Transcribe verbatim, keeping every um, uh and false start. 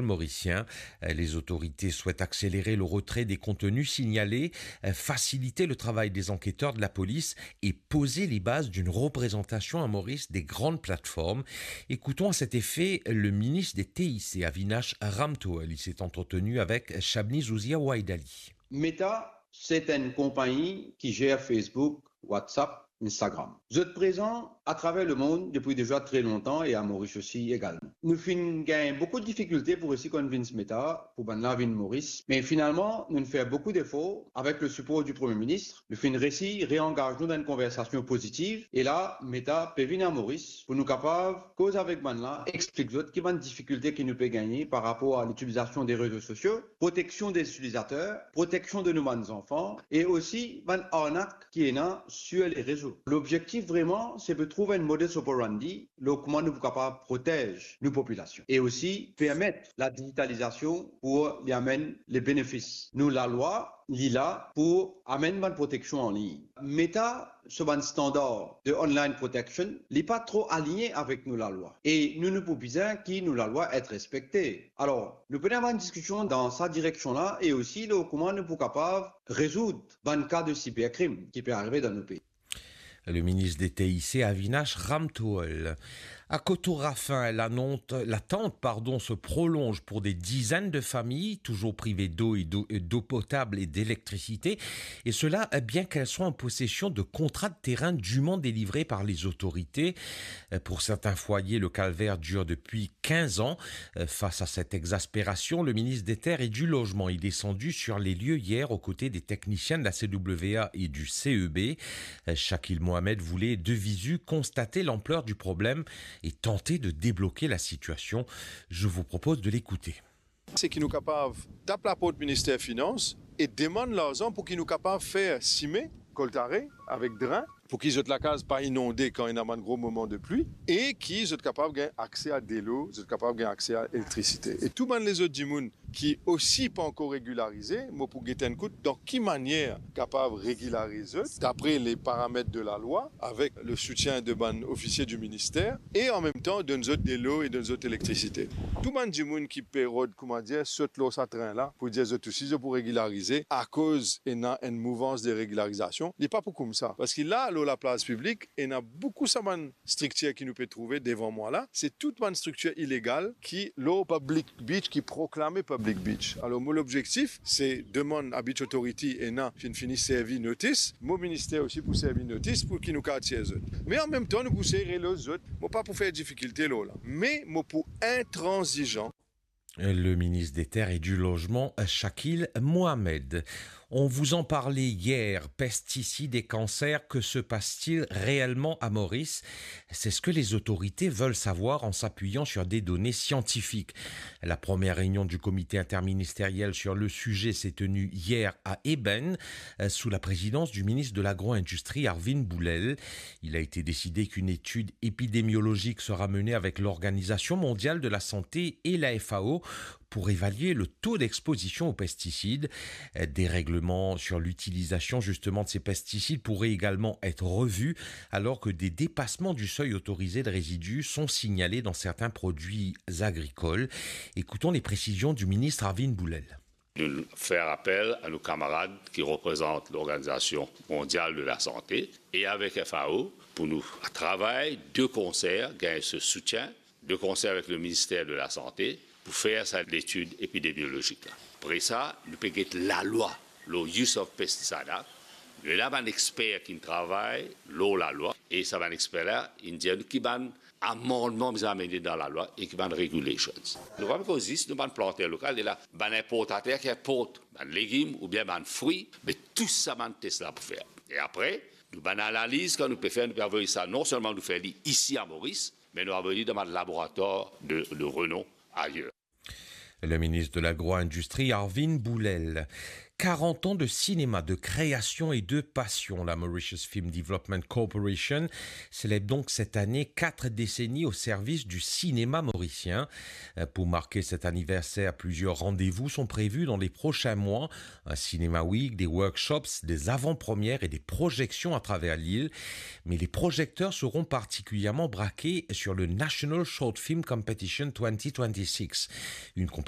morisien. Les autorités souhaitent accélérer le retrait des contenus signalés, faciliter le travail des enquêteurs de la police et poser les bases d'une représentation à Maurice des grandes plateformes. Écoutons à cet effet le ministre des T I C, Avinash Ramtohul. Il s'est entretenu avec Shabni Zouzia Waidali. Meta, se enn konpagni ki zer Facebook, WhatsApp, Instagram. Zot prezan atraver lemond depi deza tre lontan e a Moris osi egalman. Nou finn gagn boukou de difikilte pou resi konvins Meta pou bann la vinn Moris, me finalman, nou finn fer boukou defor avek le sipor di Premie Minis. Nou finn resi reangaz nou dan enn konversasion pozitiv e la, Meta pe vinn a Moris pou nou kapav koz avek bann la, explik zot ki bann difikilte ki nou pe gagne par rapor a litilizasion de rezo sosio, proteksion de itilizater, proteksion de nou bann zanfan e osi bann arnak ki ena sir le rezo. Lobzektif vreman, se pou trouv enn modus operandi lor kouma nou pou kapav protez nou popilasion e osi permet ladigitalizasion pou li amenn le benefis. Nou lalwa, li la pou amenn bann proteksion an lign. Meta so bann standar de online protection, li pa tro aligne avek nou lalwa. E nou, nou pou bizin ki nou lalwa et respekte. Alor, nou pena bann diskision dan sa direksion la e osi lor kouma nou pou kapav rezoud bann ka de siberkrim ki pe arive dan nou pei. Le ministre des T I C, Avinash Ramtohul. À Koto-Raffin, l'annonce- l'attente, pardon, se prolonge pour des dizaines de familles, toujours privées d'eau et d'eau, d'eau potable et d'électricité, et cela, bien qu'elles soient en possession de contrats de terrain dûment délivrés par les autorités. Pour certains foyers, le calvaire dure depuis quinze ans. Face à cette exaspération, le ministre des Terres et du Logement est descendu sur les lieux hier aux côtés des techniciens de la C W A et du C E B. Shakil Mohamed voulait de visu constater l'ampleur du problème et tenter de débloquer la situation. Je vous propose de l'écouter. Se ki nou kapav tap laport Minister Finans e demann larzan pou ki nou kapav fer sime, koltare avek dren, pou ki zot lakaz pa inonde kan ena bann gro moman de pli, e ki zot kapav gagn akse a delo, zot kapav gagn akse a elektrisite. E tou bann lezot dimoun ki osi pa ankor regilarize, mo pou get enn kout dan ki manier kapav regilariz zot, dapre le paramet de lalwa, avek le soutien de bann ofisie di minister, e an mem tan donn zot delo e donn zot elektrisite. Tou bann dimoun ki pe rod, kouma dir, sot lor sa tren la, pou dir zot osi zot pou regilarize, akoz ena enn mouvans de regilarizasion, li pa pou koumsa. Parski la, lor laplas piblik, ena boukou sa bann striktir ki nou pe trouve devan mwa la, se tou bann striktir ilegal ki lor public beach, ki proklame public beach. Alor, mo lobzektif, se demann a Beach Authority, ena finn fini servi notis, mo minister osi pou servi notis pou ki nou kapav tir zot. Me an mem tan, nou pou sey reloz zot. Mo pa pou fer difikilte lor la. Me mo pou intranzizan. Le ministre des Terres et du Logement, Shakil Mohamed. On vous en parlait hier, pesticides et cancers, que se passe-t-il réellement à Maurice ? C'est ce que les autorités veulent savoir en s'appuyant sur des données scientifiques. La première réunion du comité interministériel sur le sujet s'est tenue hier à Ébène, euh, sous la présidence du ministre de l'Agro-industrie, Arvin Boulel. Il a été décidé qu'une étude épidémiologique sera menée avec l'Organisation mondiale de la santé et la F A O pour évaluer le taux d'exposition aux pesticides. Des règlements sur l'utilisation justement de ces pesticides pourraient également être revus, alors que des dépassements du seuil autorisé de résidus sont signalés dans certains produits agricoles. Écoutons les précisions du ministre Arvin Boulel. Nou fer apel a nou kamarad ki reprezant Lorganizasion Mondial de la Sante e avek F A O pou nou travay de konser, gagn so soutien, de konser avek le Minister de la Sante, pou fer sa letid epidemiolozik la. Apre sa, nou pe get lalwa lor Use of Pesticide Act. Nou ena bann exper ki travay lor lalwa, e sa bann exper la, inn dir nou ki bann amannman bizin amene dan lalwa e ki bann regulations. Nou pa pe koz zis nou bann planter lokal, ena bann inportater ki inport bann legim oubien bann fri, me tou sa bann tes la pou fer. E apre, nou bann analiz kan nou pe fer, nou pe avoy sa, non selman nou fer li isi a Moris, me nou avoy li dan bann laboratwar de, de renom ayer. Le ministre de l'Agro-industrie, Arvin Boulel. Quarante ans de cinéma, de création et de passion. La Mauritius Film Development Corporation célèbre donc cette année quatre décennies au service du cinéma mauricien. Euh, pour marquer cet anniversaire, plusieurs rendez-vous sont prévus dans les prochains mois. Un Cinema Week, des workshops, des avant-premières et des projections à travers l'île. Mais les projecteurs seront particulièrement braqués sur le National Short Film Competition twenty twenty-six, une compétition